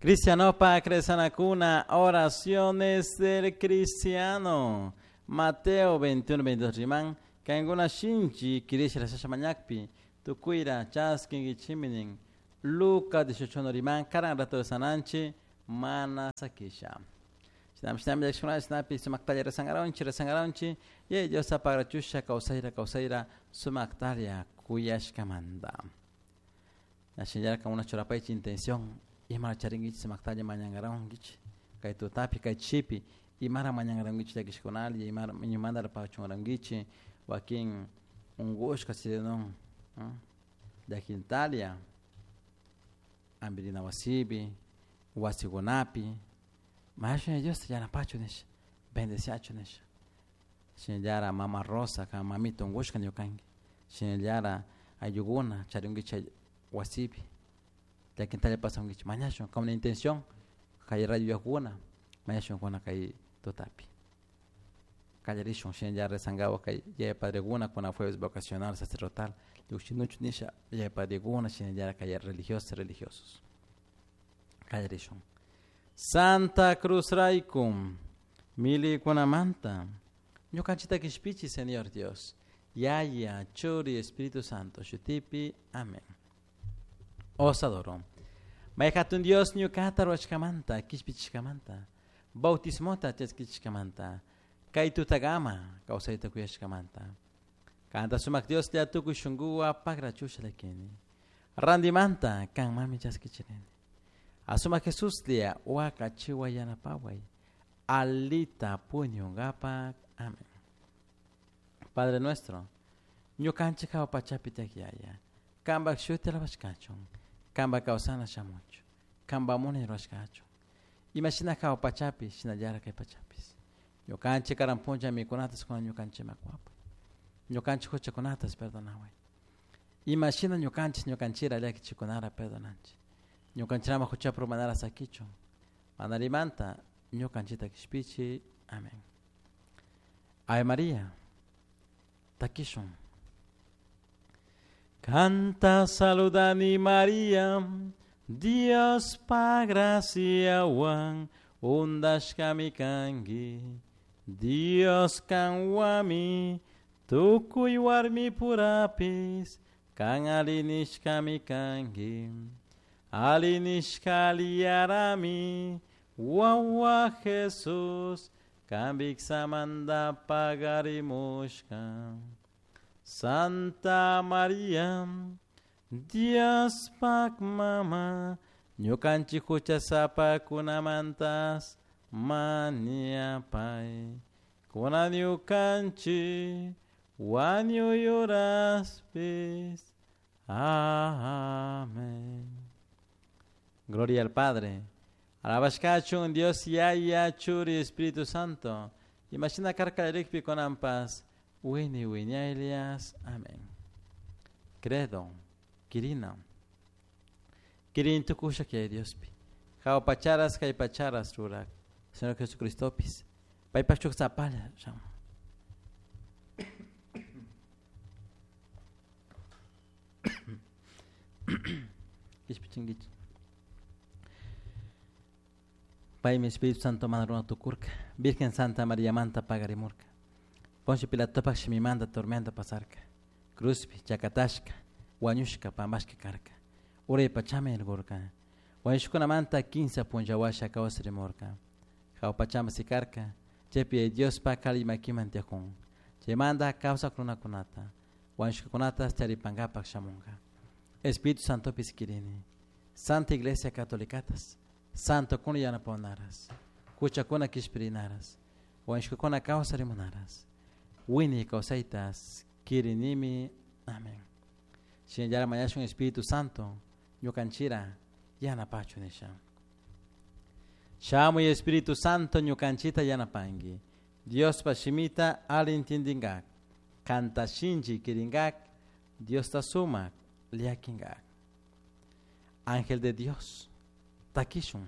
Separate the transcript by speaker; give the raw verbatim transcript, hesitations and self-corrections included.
Speaker 1: Cristianopa cresanakuna, oraciones del cristiano. Mateo veintiuno, veintidós riman, kankuna shinchi kirisha rasasha mañakpi, tukuyra chaskinkichiminin. Lucas dieciocho riman, karan rato sananchi, mana sakisha. Shinam shinam yakshuna shinapi sumaktalia rezangaraunchi, rezangaraunchi, y Dios apagrachusha kawsayra kawsayra sumaktalia kuyashkamanta. Nashinyarka una churapaichi intención, imara charingichi sumaktalia mañangaraungichi, kay tutapi kay chipi, imara mañangaraungichi llakishkunali, imara iñumandara pachungarangichi, wakin ungushka sidenon, llakintalia, ambirina wasibi, wasigunapi, Maestra Dios yanapachu nish, bendeciachu nish. Shinallara mama Rosa ka mamito ungushka ñukanki. Shinallara ayuguna charingichi wasipi. Llakintalla pasangichi mañashun con una intención kay rayo yakuna mañashun kuna kay tutapi. Kallarishun shinallara rezangawa kay yaya padreguna kuna jueves vocacional sacerdotal. Llukshinuchu nisha yaya padreguna shinallara kay religiosos religiosos. Kallarishun. Santa Cruz Raikum, mili kunamanta, ñukanchita kishpichi, Señor Dios, Yaya, Churi, Espíritu Santo, Shutipi, amén. Os adoro. Mayhatun Dios ñukata ruwashkamanta, kishpichishkamanta, bautismota chaskichishkamanta, kay tutagama, kawsayta kuyashkamanta. Kanta sumak Dios lla tukuy shunkuwa pagrachusha lakini. Randimanta, kan mami chaskichirini. Asuma Jesús lia waka chiwa yanapaway alita puñungapak. Amén. Padre nuestro, ñukanchik hawa pachapi takyaya, kambak shuti alabashkachun, kamba kawsana shamuchu, kamba munay ruwashkachun. Imashina hawa pachapi, shinallara kay pachapis. Ñukanchik karan puncha mikunatas kuna ñukanchik makwapay. Ñukanchik huchakunatas perdonaway. Imashina ñukanchik ñukanchira llakichikunara perdonanchik. Ñukanchirama huchapru manara sakichun. Manarimanta ñukanchita kishpichi. Amén. Ave María. Takishun. Canta saludani María, Dios pa gracia wan, undashkami kanki, Dios kanwami, tukuy warmi purapis, kan alinishkami kanki. Alinishkaliarami, wawa Jesús, kambiksamanda pagarimushka. Santa María, Dios pak mama, ñukanchik huchasapa kunamantas maniapay. Kuna ñukanchik wañuyuraspis. Amén. Gloria al Padre. Alabashkachun Dios Yaya Churi Espíritu Santo. Imagina karka rikpi konampas. Wini winiailias. Amén. Credo. Kirina. Kirin tukusha que Diospi. Jao pacharas kay pacharas rurak. Señor Jesucristopis. Paypachuk zapala. Kishpichinguich. Paymi Espíritu Santo manaruna tukurka. Virgen Santa María manta pagarimurka. Poncio Pilatopak shimimanta tormenta pasarka. Cruzpi, chakatashka, wañushka, pambashka karka. Uray pachame ergurka. Wañushkunamanta kinsa punllawasha kawsarimurka. Jawpachama sikarka. Chaypi Diospa kalimakiman tiyakun. Chaymanta kawsak runakunata. Wañushkakunata charipankapak shamunka. Espíritu Santopis kirini. Santa Iglesia Catolicatas. Santo kuna yanapaonaras, huchakuna kishpirinaras, wañushkakuna kawsarimunaras, wini kawsaytas kirinimi. Amén. Shinallara mañashun Espíritu Santo, ñukanchira yanapachu nisha. Shamuy Espíritu Santo ñukanchita yanapanki. Diospa shimita alintindingak, kanta shinchi kiringak, Diosta sumak liakingak. Ángel de Dios, takishun.